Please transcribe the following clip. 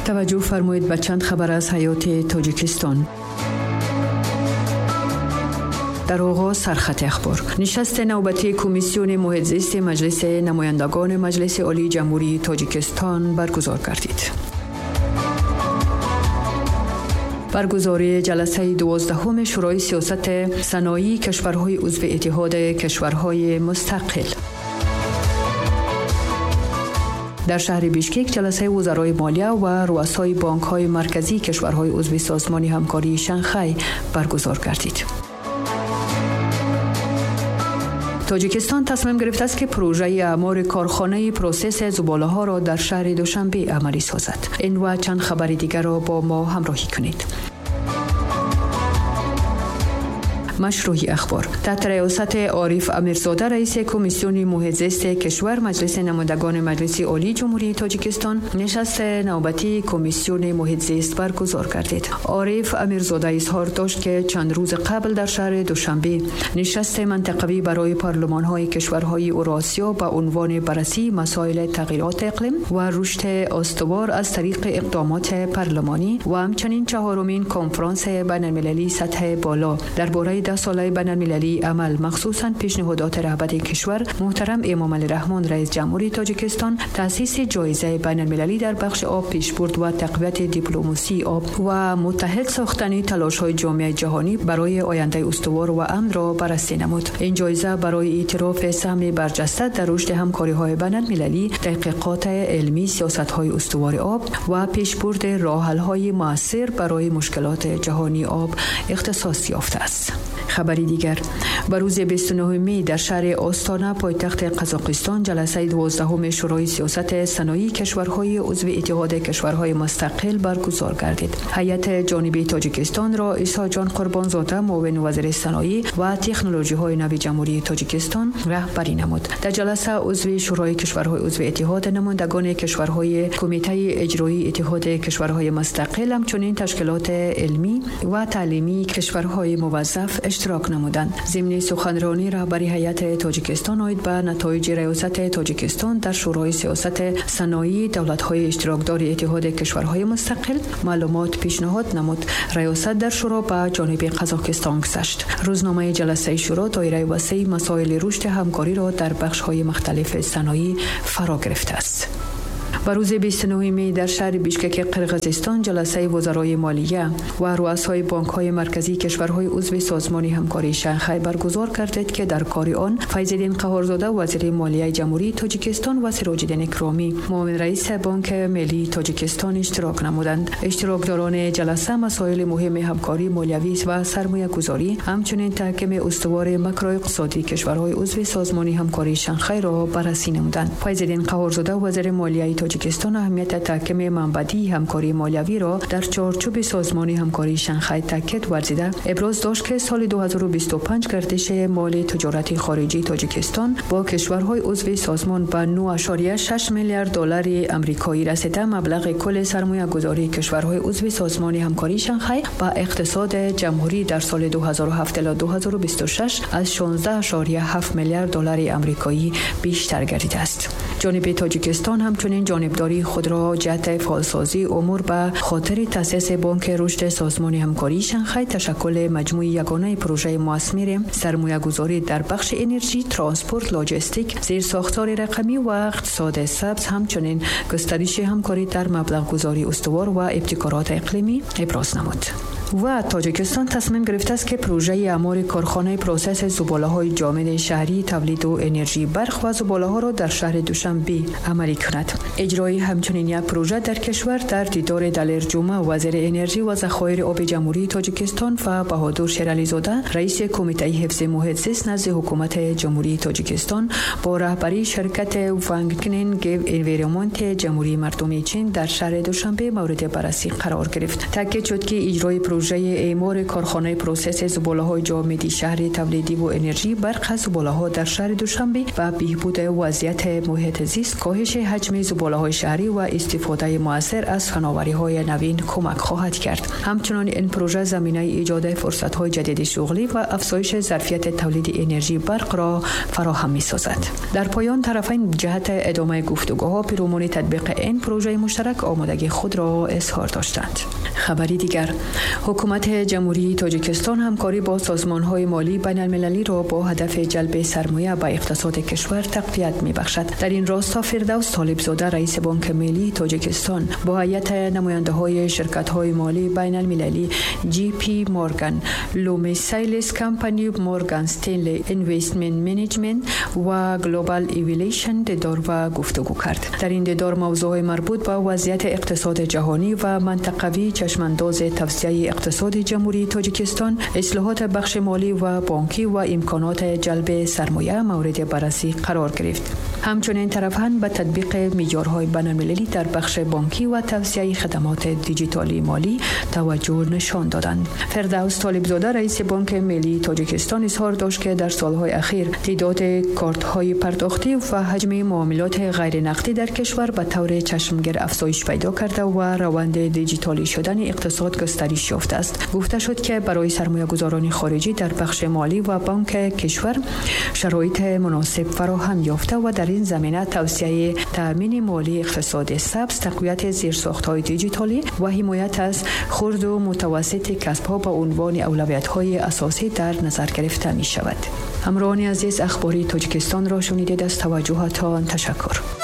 Таваҷҷӯҳ фармоед ба чанд хабар аз ҳаёти Тоҷикистон. Дар оғоз сархати ахбор. Нишасти навбатии Комиссиони муҳитзисти Маҷлиси намояндагони Маҷлиси Олии Ҷумҳурии Тоҷикистон баргузор гардид. Баргузории ҷаласаи 12-уми Шӯрои сиёсати саноии кишварҳои узви Иттиҳоди кишварҳои мустақил. Дар шаҳри Бишкек ҷаласаи вузарои молия ва руасои бонкҳои марказии кишварҳои узви Созмони ҳамкории Шанхай баргузор гардид. Тоҷикистон тасмим гирифтааст, ки пурӯжаи аъмори корхонаи процесси зуболаҳоро дар шаҳри Душанбе амалӣ созад. Ин ва чанд хабари дигарро бо мо ҳамроҳӣ кунед. Машрӯҳи ахбор. Таҳти риёсати Ориф Амирзода, раиси Комиссиони муҳитзисти кишвар Маҷлиси намояндагони Маҷлиси Олии Ҷумҳурии Тоҷикистон нишасти навбатии Комиссиони муҳитзист баргузор гардид. Ориф Амирзода изҳор дошт, ки чанд рӯз қабл дар шаҳри Душанбе нишасти минтақавӣ барои парлумонҳои кишварҳои Уросиё ба унвони баррасии масоили тағйироти иқлим ва рушди устувор аз тариқи иқдомоти парлумонӣ ва ҳамчунин чаҳорумин конфронси байналмилалии сатҳи боло дар бораи 10 солаи байналмилалии амал, махсусан пешниҳодоти раҳбари кишвар муҳтарам Эмомалӣ Раҳмон, раис ҷумҳури Тоҷикистон, таъсиси ҷоизаи байналмилалӣ дар бахши об, пешбурд ва тақвияти дипломасии об ва муттаҳид сохтани талошҳои ҷомеаи ҷаҳонӣ барои ояндаи устувор ва амнро баррасӣ намуд. Ин ҷоиза барои эътирофи саҳми барҷаста дар рушди ҳамкориҳои байналмилалӣ, таҳқиқоти илмӣ, сиёсатҳои устувори об ва пешбурди роҳҳалҳои муассир барои мушкилоти ҷаҳонии об ихтисос ёфтааст. Хабари дигар: ба рӯзи 29 май дар шаҳри Остона, пойтахти Қазоқистон, ҷаласаи 12-уми Шӯрои сиёсати саноии кишварҳои узви Иттиҳоди кишварҳои мустақил баргузор гардид. Ҳайати ҷониби Тоҷикистонро Исоҷон Қурбонзода, муовини вазири саноӣ ва технологиҳои нави Ҷумҳурии Тоҷикистон, раҳбарӣ намуд. Дар ҷаласа узви Шӯрои кишварҳои узви иттиҳод, намояндагони кишварҳои Кумитаи иҷроии Иттиҳоди кишварҳои мустақил, ҳамчунин ташкилоти илмӣ ва таълимии кишварҳои муваззаф иштирок намуданд. Зимни суханронӣ раҳбари ҳайати Тоҷикистон оид ба натоиҷи риёсати Тоҷикистон дар Шӯрои сиёсати саноии давлатҳои иштирокдори Иттиҳоди кишварҳои мустақил маълумот пешниҳод намуд. Риёсат дар шӯро ба ҷониби Қазоқистон гузашт. Рӯзномаи ҷаласаи шӯро доираи васеи масоили рушди ҳамкориро дар бахшҳои мухталифи саноӣ фаро гирифтааст. Ба рӯзи 29 май дар шаҳри Бишкеки Қирғизистон ҷаласаи вузарои молия ва руасои бонкҳои марказии кишварҳои узви Созмони ҳамкории Шанхай баргузор гардид, ки дар кори он Файзиддин Қаҳорзода, вазири молияи Ҷумҳурии Тоҷикистон, ва Сироҷиддин Икромӣ, муовин раиси Бонки миллии Тоҷикистон, иштирок намуданд. Иштирокдорони ҷаласа масоили муҳими ҳамкории молиявӣ ва сармоягузорӣ, ҳамчунин таҳкими устувори макроиқтисодии кишварҳои узви Созмони ҳамкории Шанхайро баррасӣ намуданд. Файзиддин Қаҳорзода, вазири молияи Тоҷикистон, аҳамияти таҳкими манбаъдиҳии ҳамкории молиявиро дар чорчӯби Созмони ҳамкории Шанхай таъкид варзида, иброз дошт, ки соли 2025 гардиши моли тиҷорати хориҷии Тоҷикистон бо кишварҳои узви созмон ба 9,6 миллиард доллари амрикоӣ расида, маблағи кулли сармоягузории кишварҳои узви Созмони ҳамкории Шанхай ба иқтисоди ҷумҳурӣ дар соли 2007 ила 2026 аз 16,7 миллиард доллари амрикоӣ бештар гардидааст. Ҷониби Тоҷикистон ҳамчунин ҷонибдории худро ҷиҳати фаъолсозии умур ба хотири таъсиси Бонки рушди Созмони ҳамкории Шанхай, ташаккули маҷмӯи ягонаи пурӯжаи муасмири сармоягузорӣ дар бахши энержӣ, транспорт, лоҷистик, зерсохтори рақамӣ ва иқтисоди сабз, ҳамчунин густариши ҳамкорӣ дар маблағгузории устувор ва ибтикороти иқлимӣ иброз намуд. Ва Тоҷикистон тасмим гирифтааст, ки пурӯжаи аъмори корхонаи процесси зуболаҳои ҷомеди шаҳрии тавлиду энержии барқ ва зуболаҳоро дар шаҳри Душанбе амалӣ кунад. Иҷрои ҳамчунин як пурӯжа дар кишвар дар дидори Далер Ҷума, вазири энержӣ ва захоири оби Ҷумҳурии Тоҷикистон, ва Баҳодур Шерализода, раиси Кумитаи ҳифзи муҳит зист назди Ҳукумати Ҷумҳурии Тоҷикистон, бо раҳбарии ширкати Вангнин Гев Энвиромонти Ҷумҳурии Мардумии Чин дар шаҳри Душанбе мавриди баррасӣ қарор гирифт. Таъкид шуд, ки иҷрои پروژه اعمار کارخانه پروسس زباله‌های جامدی شهر تولیدی و انرژی برق از زباله‌ها در شهر دوشنبه و بهبود وضعیت محیط زیست، کاهش حجم زباله‌های شهری و استفاده مؤثر از فناوری‌های نوین کمک خواهد کرد. همچنین این پروژه زمینه ایجاد فرصت‌های جدید شغلی و افزایش ظرفیت تولید انرژی برق را فراهم می‌سازد. در پایان طرفین جهت ادامه گفتگوها پیرامون تطبیق این پروژه مشترک آمادگی خود را اظهار داشتند. خبری دیگر، حکومت جمهوری تاجیکستان همکاری با سازمان‌های مالی بین‌المللی را با هدف جلب سرمایه به اقتصاد کشور تقویت می‌بخشد. در این راستا فردوس طالب‌زاده رئیس بانک ملی تاجیکستان با هیئت نماینده‌های شرکت‌های مالی بین‌المللی جی پی مورگان، لومی سایلس کمپانی، مورگان استنلی اینوستمنت منیجمنت و گلوبال ایویلیشن دیدار و گفتگو کرد. در این دیدار موضوع مربوط به وضعیت اقتصاد جهانی و منطقوی، چشمانداز توسعه اقتصاد جمهوری تاجیکستان، اصلاحات بخش مالی و بانکی و امکانات جلب سرمایه مورد بررسی قرار گرفت. همچنین طرفین به تطبیق معیارهای بین‌المللی در بخش بانکی و توسعه خدمات دیجیتالی مالی توجه نشان دادند. فردوس طالب‌زاده رئیس بانک ملی تاجیکستان اظهار داشت که در سالهای اخیر تعداد کارت‌های پرداختی و حجم معاملات غیر نقدی در کشور به طور چشمگیر افزایش پیدا کرده و روند دیجیتالی شدن اقتصاد گسترش یافته است. گفته شد که برای سرمایه‌گذاران خارجی در بخش مالی و بانک کشور شرایط مناسب فراهم یافته و در این زمینه توسعه تأمین مالی اقتصاد سبز، تقویت زیرساخت‌های دیجیتالی و حمایت از خرد و متوسط کسب‌ها به عنوان اولویت‌های اساسی در نظر گرفته می‌شود. همراهان عزیز، اخباری تاجیکستان را شنیدید. از توجهتان تشکر.